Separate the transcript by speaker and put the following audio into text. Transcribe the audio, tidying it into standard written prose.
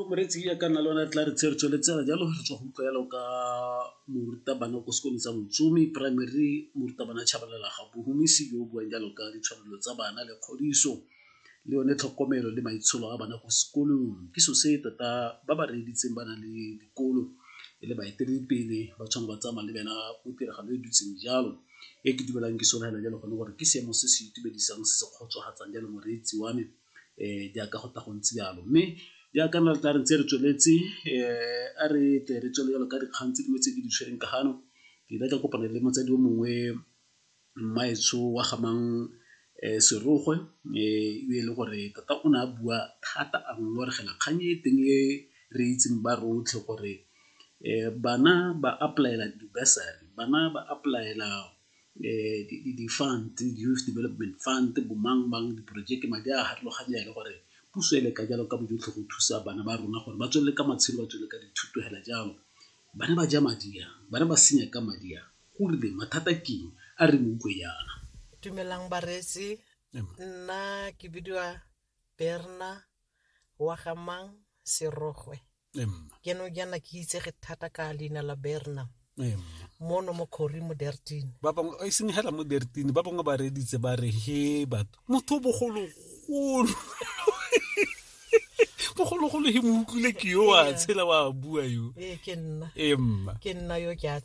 Speaker 1: Moreetsi ya ka nna le one tla re tse re tsweletsela jalo re tswa go utlwa jalo ka morutabana ko sekolong sa Motsumi Primary, morutabana Tshabalala Gabohumisi yo o buang jalo ka ditshwanelo tsa bana le kgodiso le yone tlhokomelo le maitsholo a bana ko sekolong. Ke selo se tota ba ba reeditseng ba na le dikolo e le baeteledipele ba tshwanetse ba tsamaya le bena mo tiragalo e dutseng jalo. E ke dumelang ke solofela jalo gone gore ke seemo se se itumedisang se se kgotsofatsang jalo moreetsi wa me jaaka go tla go ntse jalo. Mme jaaka nna tla re ntse re tsweletse a re tle re tswelele jalo ka dikgang tse dingwe tse ke di tshwereng ka gano, ke ile ka kopana le motsadi o mongwe mmaetsho wa ga mang Serogwe e le gore tota o ne a bua thata a ngongoregela kgang e teng e re itseng ba rotlhe gore bana ba apply-ela di-bursary, bana ba apply-ela di-fund, di-youth development fund, bo mang-mang, diporojeke, madi a a farologaneng le gore puso e leka jalo ka bojotlhe go thusa bana ba rona gore ba tswelele ka matshelo, ba tswelele ka dithuto hela jalo. Bana ba ja madi a, bana ba senya ka madi a, go rileng, mathata ke eng, a re mo utlwe jaana.
Speaker 2: Dumelang bareetsi, nna ke bidiwa Berna wa ga mang Serogwe. Ke no jaana ke itsege thata ka leina la Berna mono mo Khori mo Dertini.
Speaker 1: Ba bangwe e seng hela mo Dertini, ba bangwe ba reeditse ba re he batho motho bogologolo bogologolo he mo utlwile ke yo wa tshela wa bua yo.
Speaker 2: Ee, ke nna.
Speaker 1: Ee mma.
Speaker 2: Ke nna yo ke a.